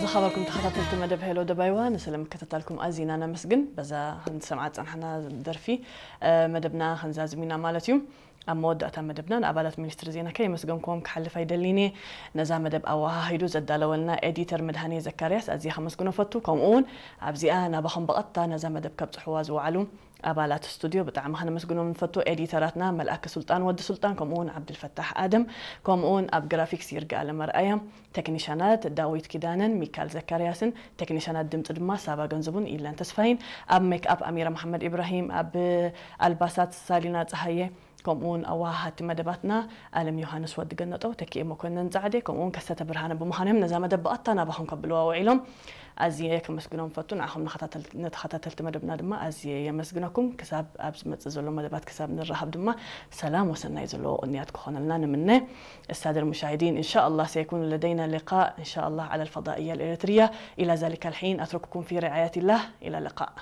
ዝኸበርኩም ተኸታተልቲ መደብ ሄሎ ደባይዋ፣ ንስለ ምክትታልኩም ኣዚና ነመስግን። በዛ ክንሰምዓ ዝጸናሕና ደርፊ፣ እ፣ መደብና ክንዛዝም ኢና ማለት እዩ። ኣብ መወዳእታ መደብና ንኣባላት ሚኒስትሪ ዜና ከየመስገንኩዎም ክሓልፍ ኣይደልን እየ። ነዛ መደብ ኣወሃሂዱ ዘዳለወልና ኤዲተር መድሃኔ ዘካርያስ ኣዝየ ከመስግኖ ፈቱ። ከምኡ እውን ኣብዚኣ ናባኹም ብቐጥታ ነዛ መደብ ከብጽሕዋ ዝወዓሉ ኣባላት ስቱድዮ ብጣዕሚ ከነመስግኖም ንፈቱ። ኤዲተራትና መልኣከ ሱልጣን ወዲ ሱልጣን፣ ከምኡ እውን ዓብድልፈታሕ ኣደም፣ ከምኡ እውን ኣብ ግራፊክስ ይርጋ ኣለመርኣያ፣ ቴክኒሻናት ዳዊት ኪዳነን ሚካል ዘካርያስን፣ ቴክኒሻናት ድምፂ ድማ ሳባ ገንዘቡን ኢለን ተስፋይን፣ ኣብ ሜክኣፕ ኣሚራ መሓመድ ኢብራሂም፣ ኣብ ኣልባሳት ሳሊና ፀሃየ፣ ከምኡ እውን ኣወሃሃድቲ መደባትና ኣለም ዮሃንስ ወዲ ገነጠው፣ ተኪኤ መኮነን ጻዕዴ፣ ከምኡ እውን ከሰተ ብርሃነ ብምዃኖም ነዛ መደብ ብቐጥታ ናባኹም ከብልዋ ውዒሎም። ኣዝየ ከመስግኖም ፈቱ። ንዓኹም ንኸታተል-፣ ንተኸታተልቲ መደብና ድማ ኣዝየ የመስግነኩም። ክሳብ ኣብ ዝመጽእ ዘሎ መደባት ክሳብ ንራኸብ ድማ ሰላም ወሰናይ ዘለዎ ቅንያት ክኾነልና ንምነ። السادة المشاهدين، إن شاء الله سيكون لدينا لقاء إن شاء الله على الفضائية الإريترية. إلى ذلك الحين أترككم في رعاية الله. إلى اللقاء.